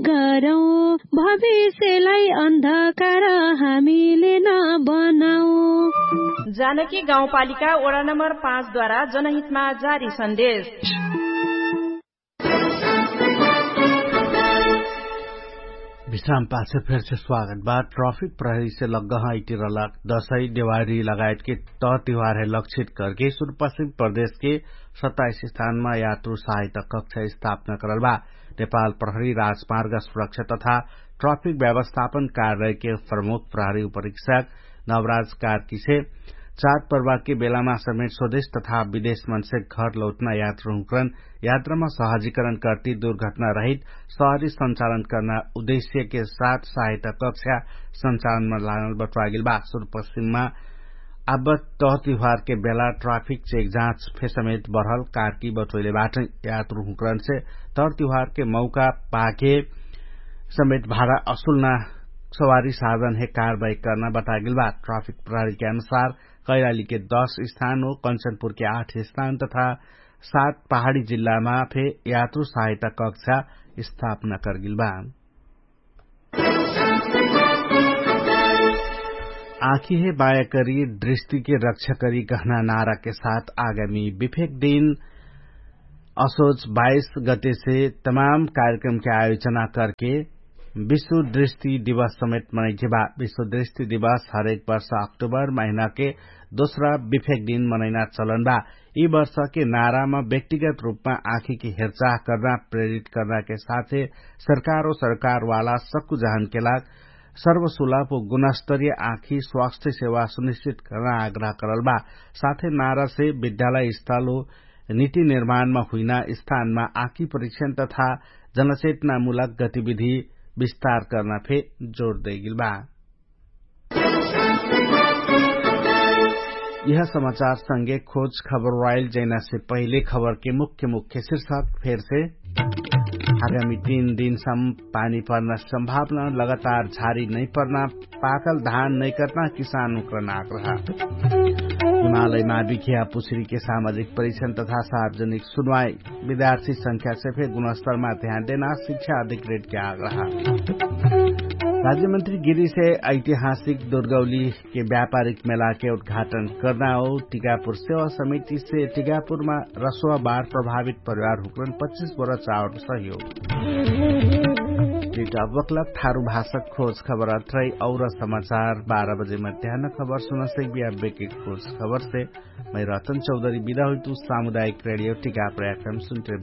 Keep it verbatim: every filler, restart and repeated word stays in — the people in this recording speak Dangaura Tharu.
गरौँ, भविष्यलाई अन्धकार हामीले नबनाऊ। जानकी गाउँपालिका वडा नम्बर पाँच द्वारा जनहितमा जारी सन्देश। विश्राम पाछे फेरसे स्वागत बा। ट्राफिक प्रहरीसे लग्गह इटिरलक दसै देवारी लगायतके तह तिहारहे लक्षित करके सुरुपश्चिम प्रदेशके सत्ताइस स्थानमा यात्रु सहायता कक्षा स्थापना करल बा। नेपाल प्रहरी राजमार्ग सुरक्षा तथा ट्राफिक व्यवस्थापन कार्यालयके प्रमुख प्रहरी उपरीक्षक नवराज कार्कीसे चार पर्वाके बेलामा समेट स्वदेश तथा विदेश मनसे घर लौटना यात्रु हुँकरन यात्रामा सहजीकरण कर्ति दुर्घटना रहित सहरी सञ्चालन कर्ना उद्देश्यके साथ सहायता कक्षा सञ्चालनमा लागल बटुवागेल बा। सुरुपश्चिममा आब तह तिहारके बेला ट्राफिक चेक जाँच फेसमेत बढल कार्की बटोइले बाटै। यात्रु हुँकरनसे तह तिहारके मौका पाके समेत भाडा असुल्ना सवारी साधनहे कारवाही कर्ना बतागेल बा। ट्राफिक प्रहरीके अनुसार कैलालीके दस स्थान हो कन्चनपुरके आठ स्थान तथा सात पहाडी जिल्लामा फे यात्रु सहायता कक्षा स्थापना करगेल बा। आँखीहे बायाकरी दृष्टिके रक्षाकरी कहना नाराके साथ आगामी विफेक दिन असोच बाइस गतेसे तमाम कार्यक्रमके आयोजना करके विश्व दृष्टि दिवस समेत मनैके बा। विश्व दृष्टि दिवस हरेक वर्ष अक्टोबर महिनाके दोस्रा विफेक दिन मनैना चलन बा। यि वर्षके नारामा व्यक्तिगत रूपमा आँखीके हेरचाह कर्ना प्रेरित कर्नाके साथे सरकार ओ सरकारवाला सक्कु जहनके लाग सर्वसुलभ ओ गुणस्तरीय आँखी स्वास्थ्य सेवा सुनिश्चित कर्ना आग्रह करल बा। साथे नारासे विद्यालय स्थल ओ निति निर्माणमा हुइना स्थानमा आँखी परीक्षण तथा जनचेतनामूलक गतिविधि विस्तार कर्ना फे जोर दैगेल बा। यह समाचार संगे खोज खबर वाइल जैनासे पहिले खबरके मुख्य मुख्य शीर्षक फेरसे। आगामी तीन दिनसम पानी पर्ना सम्भावना लगातार झारी नैपर्ना पाकल धान नैकर्ना किसान उक्रन आग्रह। हिमालयमा बिख्या पुछरीके सामाजिक परिक्षण तथा सार्वजनिक सुनवाई विद्यार्थी संख्यासे फे गुणस्तरमा ध्यान देना शिक्षा अधिकृतके आग्रह। राज्यमन्त्री गिरीसे ऐतिहासिक दुर्गौलीके व्यापारिक मेलाके उद्घाटन कर्ना हो। टिकापुर सेवा समितिसे टिकापुरमा रसोवा बार प्रभावित परिवार हुक्रन पच्चिस बोरा चाउर सहयोग। टिटा बक्लक थारु भाषक खोज खबर अत्रै और समाचार बाह्र बजे मध्यान खबर सुनसै बिया बेके खोज खबरसे मै रतन चौधरी बिदा हुइतु। सामुदायिक रेडियो टिका प्रयाक्रम सुन्त्रे।